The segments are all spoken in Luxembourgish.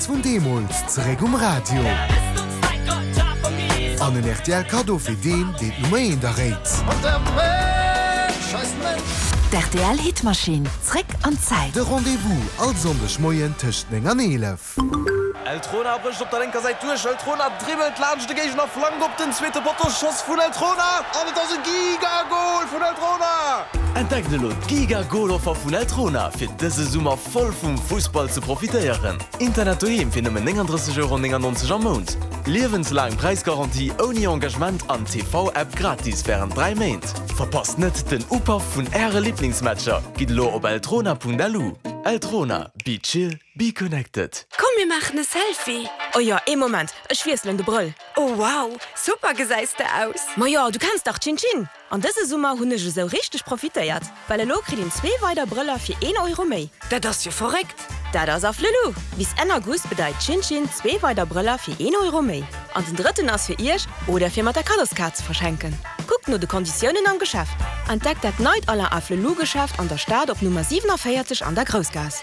vun deemools zeréck um Radio. An en rtl Kaddo fir deen, deen d'Nummer eent erréit. D'RTL Hitmaschinn, zréck an d'Zäit. De Rendez-vous all Sonndeg Moien tëscht 9 an 11. Eltrona brécht op der lénker Säit duerch. Eltrona dribbelt laanscht de Géigner, flankt op den zweete Potto. Schoss vun Eltrona an et ass e Giga-Gol vun Eltrona! Entdeckt elo d'Giga-Gol-Offer vun Eltrona fir dëse Summer voll vum Fussball ze profitéieren. Internet doheem fir nëmmen 39,99 Euro am Mount, liewenslaang Präisgarantie ouni Engagement an TV-App gratis wärend 3 Méint. Verpasst net den Upaff vun Äre Liblingsmatcher! Gitt elo op eltrona.lu. Eltrona, be chill, be connected. Komm mir maachen e Selfie! Oh jo, ee Moment, ech wiesselen de Brëll. Oh wow, super gesäis de aus! Majo, du kenns dach Chin Chin! An dëse Summer hunn ech esou richteg profitéiert, well elo kritt een zwee weider Brëller fir een Euro méi. Dat ass jo verréckt! Dat ass Afflelou! Bis Enn August bedeit Chin Chin zwee weider Brëller fir een Euro méi. An den drëtten ass fir iech oder fir mat der Kaddoskaart ze verschenken. Kuckt no de Konditiounen am Geschäft. Entdeckt dat neit Alain Afflelou Geschäft an der Stad op Nummer 47 an der Groussgaass.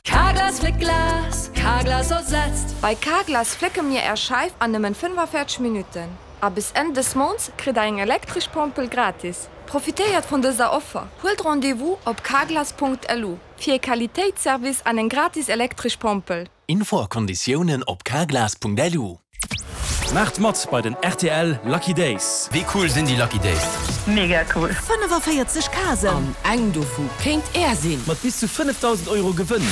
Carglass fléckt Glas, Carglass ersetzt. Bei Carglass flécke mir Är Scheif an nëmmen 45 Minutten. A bis Enn dës Mounts kritt der eng elektresch Pompel gratis. Profitéiert vun dëser Offer! Huelt Rendez-vous op carglass.lu fir e Qualitéitsservice an eng gratis elektresch Pompel. Info a Konditiounen op carglass.lu. Maacht mat bei den rtl Lucky Days! Wéi cool sinn déi Lucky Days? Mega cool! 45 Kasen! An eng dovu kéint Är sinn! Mat bis zu 5.000 Euro Gewënn!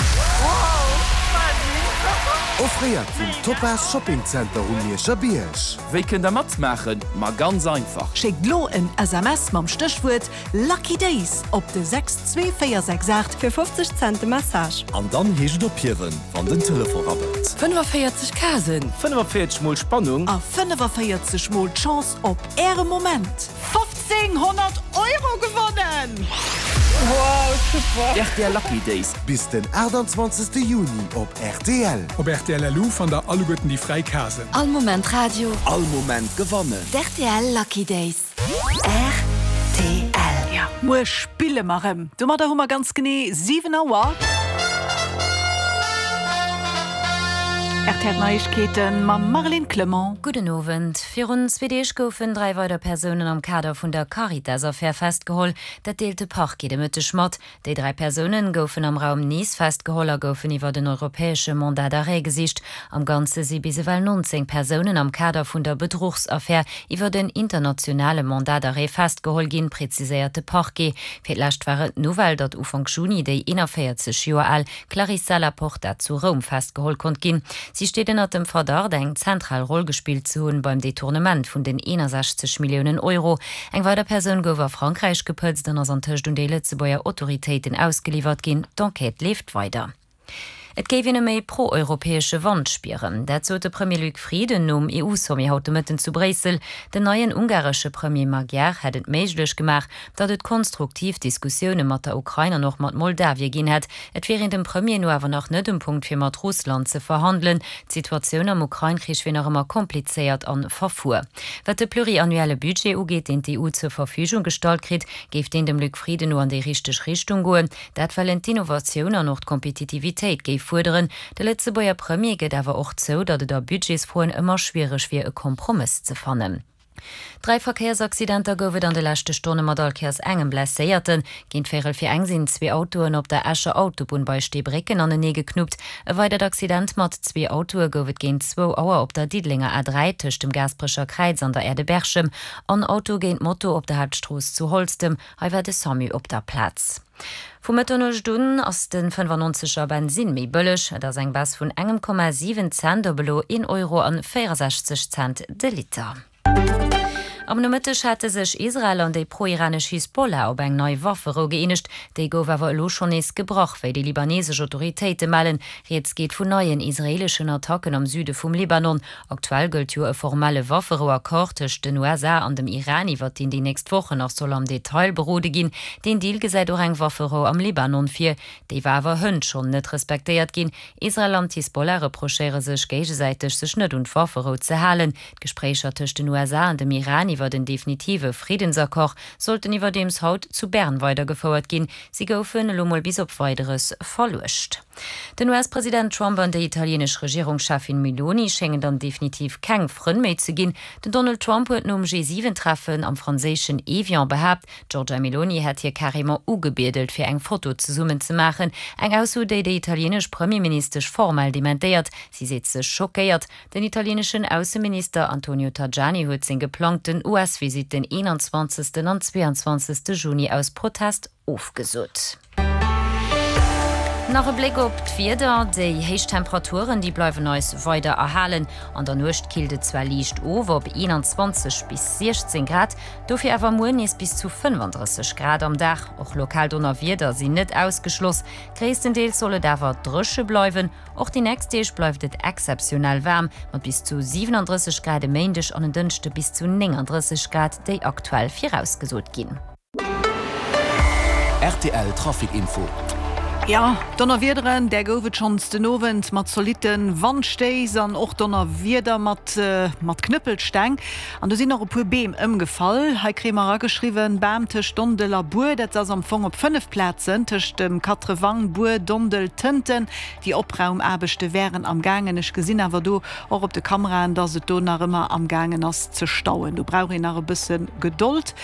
Offréiert vum Topaz Shopping Center um Mierscher Bierg. Wéi kënnt der matmaachen? Ma ganz einfach! Schéckt lo en SMS mam Stéchwuert Lucky Days op de 62468. Fir 50 Cent de Message. An dann heescht et ophiewen, wann den Telefon rabbelt. 45 Kasen. 45 mol Spannung. A 45 mol d'Chance op Äre Moment. 1500 Euro gewonnen! Wow, super! Rtl Lucky Days. Bis den 28 Juni op rtl. Op rtl.lu fannt der alleguerten déi fräi Casen. All Moment Radio. All Moment gewannen. D'RTL Lucky Days. Rtl. Jo, muer spille mer rëm. Domadder hu mer ganz genee 7 Auer. Rtl Neiegkeete mam Marlene Clement. Gudden Owend. Virun zwee Deeg goufen 3 weider Persounen am Kader vun der Caritas-Affär festgeholl. Dat deelt de Parquet de Mëtteg mat. Déi 3 Persounen goufen am Raum Nice festgeholl a goufen iwwert en europäesche Mandat d'arrêt gesicht. Am Ganze si bis ewell 19 Persounen am Kader vun der Bedruchsaffär iwwert en internationale Mandat d'arrêt festgeholl ginn, preziséiert de Parquet. Fir d'lescht war et d'Nouvelle, datt Ufank Juni déi 41 Joer al Clarissa Laporta zu Roum festgeholl konnt ginn. Si steet ënnert dem Verdacht, eng zentral Roll gespillt ze hunn beim Detournement vun den 61 Milliounen Euro. Eng weider Persoun gouf a Frankräich gepëtzt an ass antëscht un déi Lëtzebuerger Autoritéiten ausgeliwwert ginn. D'Enquête leeft weider. Et géif een e méi pro-europäesche Wand spieren. Dat sot de Premier Luc Frieden nom EU-Sommet haut de Mëtten zu Bréissel. Den neien ungaresche Premier Magyar hätt et méiglech gemaach, datt et konstruktiv Diskussioune mat der Ukrain an och mat Moldawie ginn hätt. Et wier een dem Premier no awer nach net um Punkt fir mat Russland ze verhandelen. D'Situatioun am Ukrain-Krich wier nach ëmmer komplizéiert an verfuer. Wat de pluriannuelle Budget ugeet, deen d'EU zur Verfügung gestallt kritt, géif deen dem Luc Frieden no an déi richteg Richtung goen. Dat well en d'Innovatioun an och d'Kompetitivitéit géif fuerderen. De Lëtzebuerger Premier gëtt awer och zou, datt et a Budgetsfroen ëmmer schwiereg wier e Kompromëss ze fannen. Dräi Verkéiersaccidenter gouf et an de leschte Stonne mat all Kéiers engem Blesséierten. Géint véierel fir eng sinn zwee Autoen op der Escher Autobunn bei Steebrécken anenee geknuppt. E weidert Accident mat zwee Autoe gouf et géint zwou Auer op der Diddelenger A3 tëscht dem Gaasperecher Kräiz an der Aire de Berchem. En Auto géint Moto op der Haaptstrooss zu Holztem. Hei war de Samu op der Plaz. Vu Mëtternuecht un ass de 95 er Bensinn méi bëlleg. Et ass eng Baisse vun engem Komma 7 Cent op elo een Euro an 64 Cent de Liter. Am Nomëtteg hate sech Israel an déi pro-iranesch Hisbollah op eng nei Wafferou gëeenegt. Déi gouf awer elo schonn nees gebrach, wéi déi libanesesch Autoritéite mellen. Rieds geet vun neien israeeleschen Attacken am Süde vum Libanon. Aktuell gëllt jo e formelle Wafferou-Accord tëscht den USA an dem Iran, iwwer deen déi nächst Wochen nach soll am Detail berode ginn. Deen Deal gesäit och eng Wafferou am Libanon vir. Déi war awer hënt schonn net respektéiert ginn. Israel an d'Hisbollah reprochéiere sech géigesäiteg, sech net un d'Wafferou ze halen. D'Gespréicher tëscht den USA an dem Iran iwwer. iwwert en definitive Friddensaccord sollten iwwerdeems haut zu Bern weidergefouert ginn. Si goufen elo mol bis op Weideres verluecht. Den US-President Trump an déi italienesch Regierungscheffin Meloni schéngen dann definitiv keng Frënn méi ze ginn. Den Donald Trump huet nom G7-Treffen am franséischen Evian behaapt, d'Giorgia Meloni hätt hie carrément ugebiedelt, fir eng Foto zesummen ze maachen. Eng Ausso, déi déi italienesch Premierministesch formell dementéiert. Si seet sech schockéiert. Den italieneschen Ausseminister Antonio Tajani huet seng geplangten US-Visitt den 21. an 22. Juni aus Protest ofgesot. Nach e Bléck op d'Wieder, Déi héich Temperaturen, déi bleiwen eis weider erhalen. An der Nuecht killt et zwar liicht of op 21 bis 16 Grad, dofir awer muer nees bis zu 35 Grad am Dag. Och lokal Donnerwieder sinn net ausgeschloss, gréisstendeels soll et awer dréche bleiwen. Och déi nächst Deeg bleift et exzeptionell waarm, mat bis zu 37 Grad e Méindeg an en Dënschde bis zu 39 Grad, déi aktuell virausgesot ginn. Rtl Trafic Info. Jo, Donnerwiederen, där gouf et schonns den Owend mat zolitte Wandstéiss an och Donnerwieder mat mat Knëppelsteng. An do sinn och e puer Beem ëmgefall. Hei kréie mer erageschriwwen, Bam tëscht Dondel a Buer. Dat ass am Fong op 5 Plazen, tëscht dem Quatrewang, Buer, Dondel, Tënten. Déi Opraumaarbechte wären am gaangen. Ech gesinn awer do och op de Kameraen, dass et do nach ëmmer am gaangen ass ze stauen. Do brauch een nach e bësse Gedold.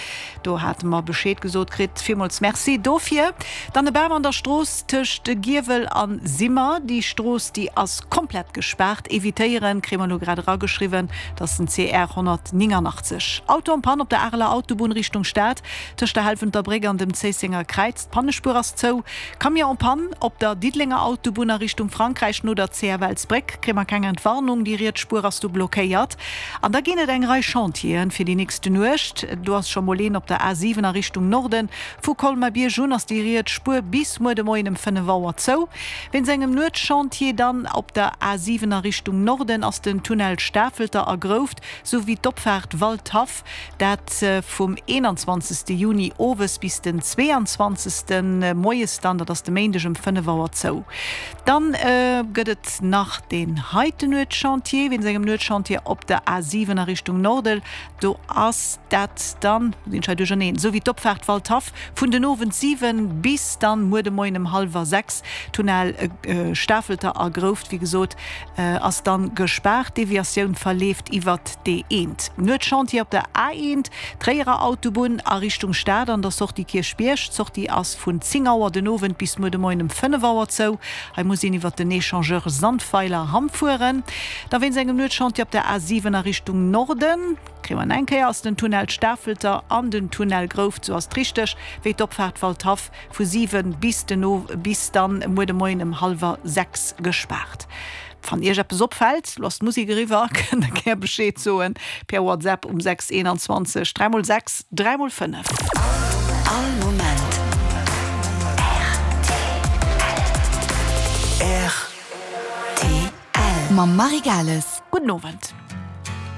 Do hate mer Bescheed gesot kritt. Villmools Merci dofir. Dann e Bam an der Strooss tëscht Giewel a Simmer. Déi Strooss, déi ass komplett gespaart. Evitéieren, kréie mer elo grad erageschriwwen, dass den CR 189. Auto en panne op der Areler Autobunn Richtung Stad, tëscht der Helfenter Bréck an dem Zéissenger Kräiz. D'Pannespuer ass zou. Camion en panne op der Diddelenger Autobunn a Richtung Frankräich no der CFLsbréck. Kréie mer keng Entwarnung, déi riets Spuer ass do blockéiert. An da ginn et eng Rei Chantieren fir déi nächste Nuecht. Do ass scho mol een op der A7 a Richtung Norden. Vu Colmar-Bierg un ass déi riets Spuer bis muer de Moien ëm 5 Auer zou. Wéinst engem Nuetschantier dann op der A7 a Richtung Norden ass den Tunnel Stafelter a Grouft souwéi d'Opfaart Waldhaff, dat vum 21 Juni owes bis den 22 moies dann, dat ass de Méindeg ëm 5 Auer zou. Dann gëtt et nach deen heiten Nuetschantier, wéinst engem Nuetschantier op der A7 a Richtung Nordel. Do ass dat dann, lo sinn ech hei duercherneen, esou wéi d'Opfaart Waldhaff, vun den Owend 7 bis dann muer de Moien ëm hallwer 6. Tunnel Stafelter a Grouft, wéi gesot, ass dann gespaart. D'Deviatioun verleeft iwwert d'E1. Nuetschantier op der A1, Tréierer Autobunn a Richtung Stad an der Sortie Kierchbierg. D'Sortie ass vun 10 Auer den Owend bis muer de Moien ëm 5 Auer zou. Hei muss een iwwert den Echangeur Sandweiler Hamm fueren. Da wéinst engem Nuetschantier op der A7 a Richtung Norden, kréie mer eng Kéier, ass den Tunnel Stafelter an den Tunnel Grouft, sou ass et richteg, wéi d'Opfaart Waldhaff vu 7 bis den Ow bis dann muer de Moien ëm hallwer 6 gespaart. Wann Iech eppes opfält, lo ass d'Musek eriwwer, kënnt der gär Bescheed soen per WhatsApp um 6 21 3 mol 6 3 mol 5. All Moment rtl. Mam Marie Gales. Gudden Owend.